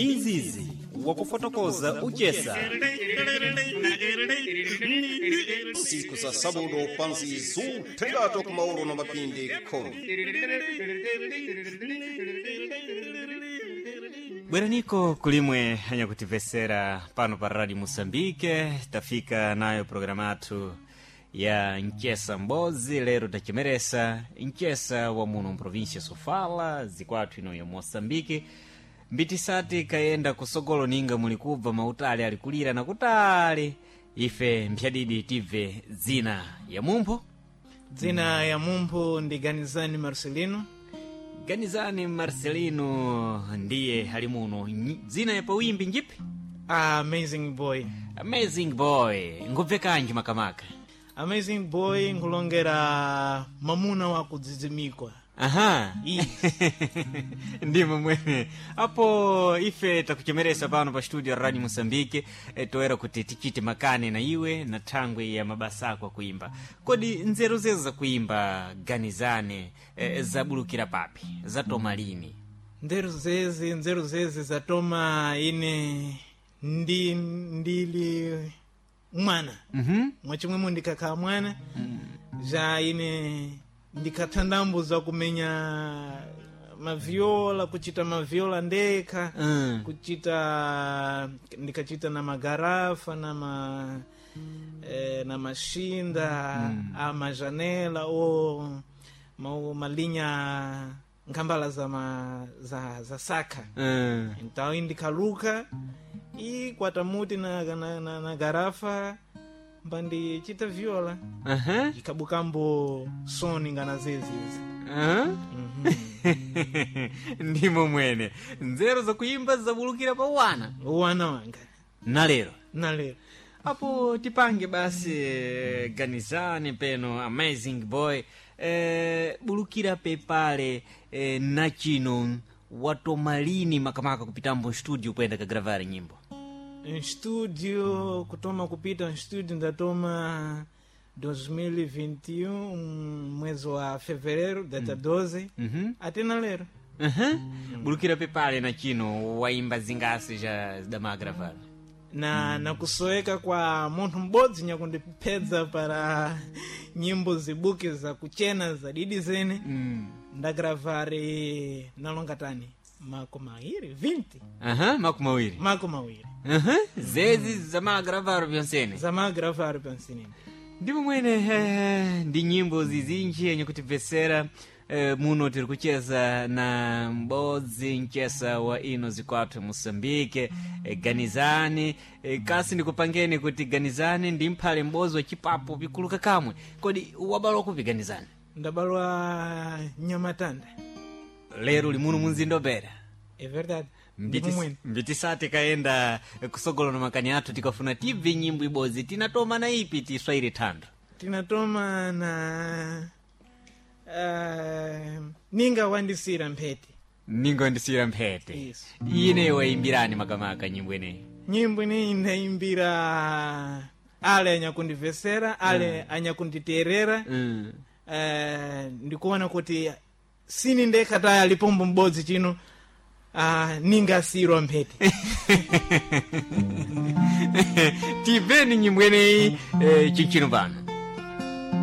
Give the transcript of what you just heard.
Ndi nzizi wakufotokoza uchesa. Siku za sabudo pansi zuthengato kumaulo na mapindi 10. Bweraniko kulimwe anyakutivesera pano pa Radio Moçambique, tafika nayo programa yathu ya Nchesa Mbozi. Lero tachimeresa Nchesa wa muno mprovinsia Sofala, zikwathu ino ya Moçambique. Mbitisati kayenda kusogolo ninga muli kubva mautali alikulira na kutali, ife mphyadidi tibve dzina ya mumpho. Dzina ya mumpho ndi Ganizani Marcelino. Ganizani Marcelino ndiye ali muno. Dzina ya pawimbi njipi? Amazing Boy. Amazing Boy ngubvekanji makamaka? Amazing Boy nkulongera mamuna wa kudzidzimikwa. Aha. Yes. Ndimo mwene apo ife takuchemeresa pano pa studio Radio Moçambique, toera kuti tichite makane na iwe na thangwe ya mabasa ako akuimba. Kodi nzeru zezo zakuimba, Ganizane, zabulukira papi, zatoma lini? Nzeru zezi zatoma ine ndi ndili mwana. Mwachimwemo ndikakhala mwana ja ine ndikathandambo za kumenya maviola, kuchita maviola ndekha. Kuchita ndikachita na magarafa na ma na maxinda a majanela o malinha nkhambala za, ma, za saka. Então indikaluka e kwatamuti na garafa mbandichita viola. Ikabukambo soni ngana zezizi. Ndimo mwene nzeru zakuimba zabulukira pa wana. Wana wanga. Na lero. Na lero. Apo tipange basi, Ganizane peno Amazing Boy, bulukira pepale, na chino watomalini makamaka kupitambo studio kuyenda kagravari nyimbo? Em studio kutoma kupita em studio ndatoma 2021, mwezi wa fevereiro, data 12. Até na lero. Bulukira pepale na chino waimba zingasi ja zidamagravari? Na kusoeka kwa munthu m'bodzi nyakundipedza para nyimbo zibuke za kuchena za didi zene. Ndagravari nalonga tani mako mawiri 20. Aha, mako mawiri. Mako mawiri. Aha, zezi zamagravaro vyonsene. Zamagravari pansinini. Ndipo mwene, ndi nyimbo zizinji yenye kutibvesera, muno tiri kucheza na m'bodzi mchesa wa ino zikwathu Moçambique, Ganizani. Kasi ndikupangeni kuti Ganizani ndi mphale m'bodzi wa chipapo pikuluka kamwe. Kodi wabalwa kupi, Ganizani? Ndabalwa Nyamatanda. Lero uli muno munzinda Beira. É verdade. Ndipo mwene. Mbitisati kayenda kusogolo na makani athu, tikafuna tibve nyimbo ibodzi. Tinatoma na ipi tiswaire thando? Tinatoma na Ninga Wandisira Mphete. Ninga Wandisira Mphete. Isso. Ine wayimbirani makamaka nyimbo ineyi? Nyimbo ineyi ndayimbira ale anyakundivesera, ale anyakunditerera. Ndikuona kuti sini ndekha taya lipombo m'bodzi chino, ningasirwa mphete. Tibveni nyimbo ineyi, chinchino pano.